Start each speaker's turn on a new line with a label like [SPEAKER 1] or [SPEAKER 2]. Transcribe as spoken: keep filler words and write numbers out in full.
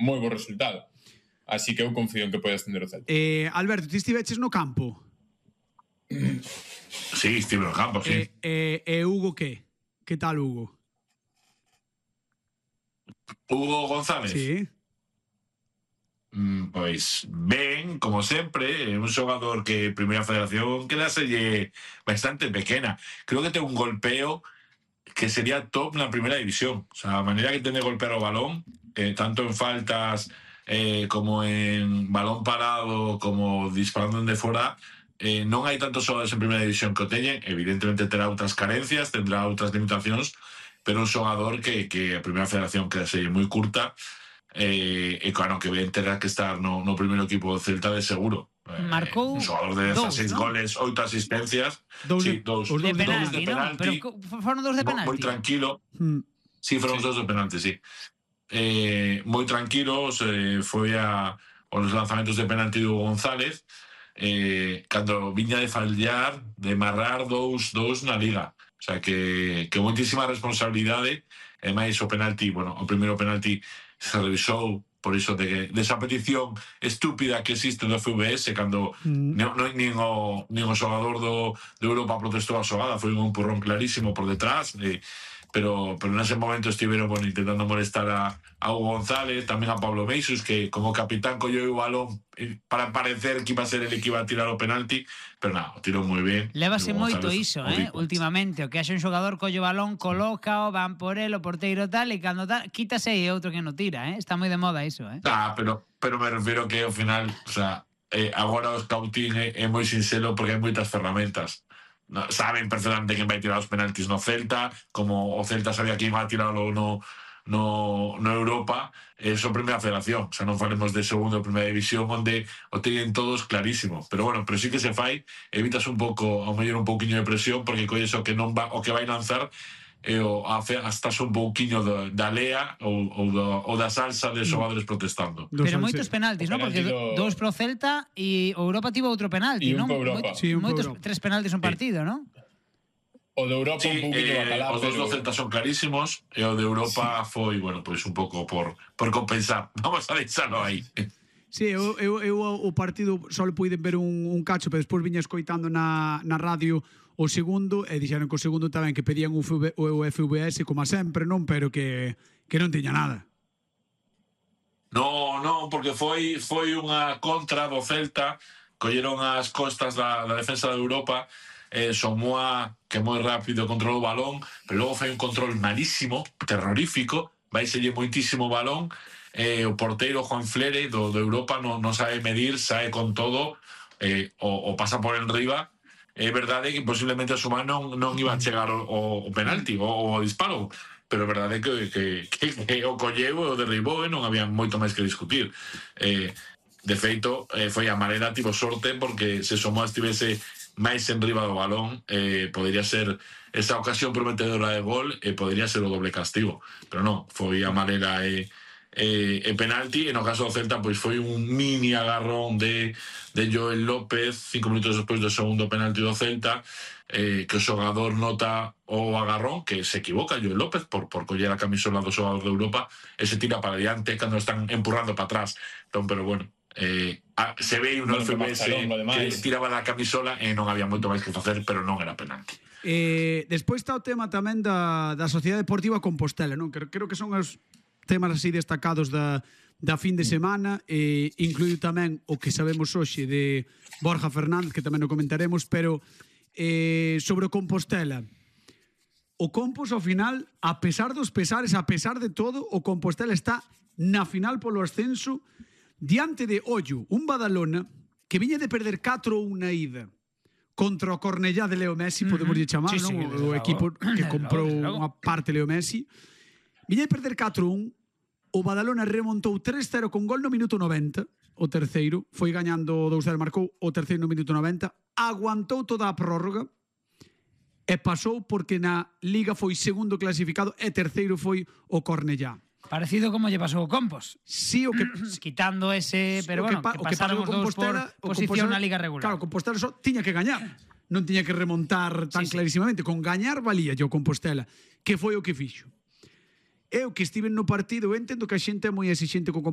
[SPEAKER 1] moi bo resultado. Así que eu confío en que pode ascender o Celta.
[SPEAKER 2] Eh, Alberto, ti estiveches no campo?
[SPEAKER 3] Sí, estive no campo, sí.
[SPEAKER 2] E eh, eh, Hugo que? Que tal Hugo?
[SPEAKER 3] Hugo González?
[SPEAKER 2] Sí.
[SPEAKER 3] Mm, pois ben, como sempre, é un xogador que Primeira Federación quedaselle bastante pequena. Creo que ten un golpeo que sería top na Primeira División. O sea, a maneira que ten de golpear o balón, eh, tanto en faltas eh, como en balón parado, como disparando de fora, eh, non hai tantos xogadores en Primeira División que o teñen. Evidentemente terá outras carencias, tendrá outras limitacións, pero un xogador que, que a Primeira Federación quedaselle moi curta. Eh, e claro que ven terá que estar no, no primeiro equipo do Celta de seguro.
[SPEAKER 4] Marcou
[SPEAKER 3] eh, un xogador de dezasseis
[SPEAKER 4] ¿no?
[SPEAKER 3] goles, oito asistencias.
[SPEAKER 2] Dous
[SPEAKER 3] sí,
[SPEAKER 2] de,
[SPEAKER 3] dous,
[SPEAKER 2] os
[SPEAKER 4] de
[SPEAKER 2] dous de
[SPEAKER 4] penalti,
[SPEAKER 3] de
[SPEAKER 4] ¿no?
[SPEAKER 3] penalti.
[SPEAKER 4] Pero foron dos de penalti.
[SPEAKER 3] Moi tranquilo.
[SPEAKER 2] Mm.
[SPEAKER 3] Sí, foron
[SPEAKER 1] Sí.
[SPEAKER 3] os dous de penalti, sí. Eh, moi tranquilos, eh, foi a os lanzamentos de penalti do González, eh, cando viña de fallar, de marrar dous, dous na Liga. O sea, que, que moitísima responsabilidade. E máis o penalti, bueno, o primeiro penalti se revisou por iso de que desa petición estúpida que existe do F V S cando
[SPEAKER 2] Mm.
[SPEAKER 3] non, non, nin, o, nin o xogador do, de Europa protestou a xogada, foi un empurrón clarísimo por detrás, eh, pero, pero nese momento estiveron bueno, intentando molestar a, a Hugo González, tamén a Pablo Meixos, que como capitán colleu o balón eh, para parecer que iba a ser el que iba a tirar o penalti, pero nada, o tirou moi ben.
[SPEAKER 4] Lévase
[SPEAKER 3] Hugo
[SPEAKER 4] moito
[SPEAKER 3] González,
[SPEAKER 4] iso,
[SPEAKER 3] o
[SPEAKER 4] eh,
[SPEAKER 3] rico.
[SPEAKER 4] últimamente, o que haxe un xogador colle o balón, colócao, van por el, o porteiro tal, e cando tal, quítase e outro que non tira, eh? Está moi de moda iso, eh?
[SPEAKER 3] Ah, pero, pero me refiero que ao final, o sea, eh, agora o scouting é, é moi sinxelo porque hai moitas ferramentas. No, saben perfectamente quen vai tirar os penaltis no Celta, como o Celta sabía quen vai tirarlo no, no, no Europa, é só Primeira Federación, o sea, non falemos de segundo ou Primeira División onde o teñen todos clarísimo, pero bueno, pero sí que se fai, evitas un pouco, ao mellor un pouquiño de presión, porque colles o que non va, o que vai lanzar e o hasta un pouquiño da, da lea ou, ou, da, ou da salsa de xogadores protestando.
[SPEAKER 2] Dos
[SPEAKER 4] Pero
[SPEAKER 2] salse-
[SPEAKER 4] moitos penaltis, non? Porque
[SPEAKER 1] penalti do-
[SPEAKER 4] dous pro Celta e o Europa tivo outro penalti,
[SPEAKER 1] E un
[SPEAKER 4] non?
[SPEAKER 1] pro Europa.
[SPEAKER 4] Moitos,
[SPEAKER 2] Sí, un pro
[SPEAKER 4] moitos
[SPEAKER 2] Europa.
[SPEAKER 4] tres penaltis un partido, non?
[SPEAKER 1] O de Europa
[SPEAKER 3] Sí,
[SPEAKER 1] un pouquinho
[SPEAKER 3] eh,
[SPEAKER 1] bacalá,
[SPEAKER 3] os dos do
[SPEAKER 1] pero...
[SPEAKER 3] Celta son clarísimos e o de Europa sí. foi, bueno, pois pues un pouco por, por compensar. Vamos a deixalo aí.
[SPEAKER 2] Sí, eu, eu, eu o partido só puiden ver un, un cacho, pero despois viña escoitando na, na radio o segundo e dixeron que o segundo tamén que pedían o, F V, o F V S como a sempre, non? Pero que, que non tiña nada.
[SPEAKER 3] No, no, porque foi foi unha contra do Celta, colleron as costas da, da defensa de Europa, eh, Somoa, que moi rápido controlou o balón, pero logo foi un control malísimo, terrorífico, vaiselle moitísimo balón, eh, o porteiro Juan Flere do, do Europa non, non sabe medir, sae con todo, eh, o, o pasa por enriba. É verdade que posiblemente a Sumar non, non iba a chegar o, o, o penalti o, o disparo, pero é verdade que, que, que, que o colleu e o derribou e non había moito máis que discutir. Eh, de feito, eh, foi a maneira, tivo sorte, porque se Somoa estivese máis enriba do balón, eh, podería ser esa ocasión prometedora de gol e podería ser o doble castigo, pero non, foi a maneira e eh, e penalti. E no caso do Celta pois foi un mini agarrón de, de Joel López cinco minutos despois do segundo penalti do Celta, eh, que o xogador nota o agarrón, que se equivoca Joel López por, por coller a camisola do xogador de Europa e se tira para diante cando están empurrando para atrás. Entón, pero bueno, eh, a, se ve un F V S que tiraba da camisola e non había moito máis que facer, pero non era penalti.
[SPEAKER 2] Eh, despois está o tema tamén da, da Sociedade Deportiva Compostela, non? Creo, creo que son os temas así destacados da, da fin de semana, e incluído tamén o que sabemos hoxe de Borja Fernández, que tamén o comentaremos, pero eh, sobre o Compostela, o Compos ao final, a pesar dos pesares, a pesar de todo, o Compostela está na final polo ascenso diante de Ollo, un Badalona que viña de perder catro a un na ida contra o Cornellá de Leo Messi, podemos uh -huh. chamar,
[SPEAKER 4] sí,
[SPEAKER 2] non?
[SPEAKER 4] sí,
[SPEAKER 2] O, o equipo que comprou unha parte Leo Messi. Viña de perder catro a un, o Badalona remontou tres cero con gol no minuto noventa, o terceiro, foi gañando dous cero, marcou o terceiro no minuto noventa, aguantou toda a prórroga e pasou porque na Liga foi segundo clasificado e terceiro foi o Cornellá.
[SPEAKER 4] Parecido como lle pasou o Compos.
[SPEAKER 2] Sí, o que
[SPEAKER 4] quitando ese, pero
[SPEAKER 2] o
[SPEAKER 4] bueno,
[SPEAKER 2] que, pa,
[SPEAKER 4] que
[SPEAKER 2] o que
[SPEAKER 4] pasaron os dous por posición na Liga regular.
[SPEAKER 2] Claro, Compostela só tiña que gañar. Non tiña que remontar tan
[SPEAKER 4] sí, sí.
[SPEAKER 2] clarísimamente. Con gañar valía o Compostela, que foi o que fixo. Eu que estive no partido, eu entendo que a xente é moi exixente co Compostela,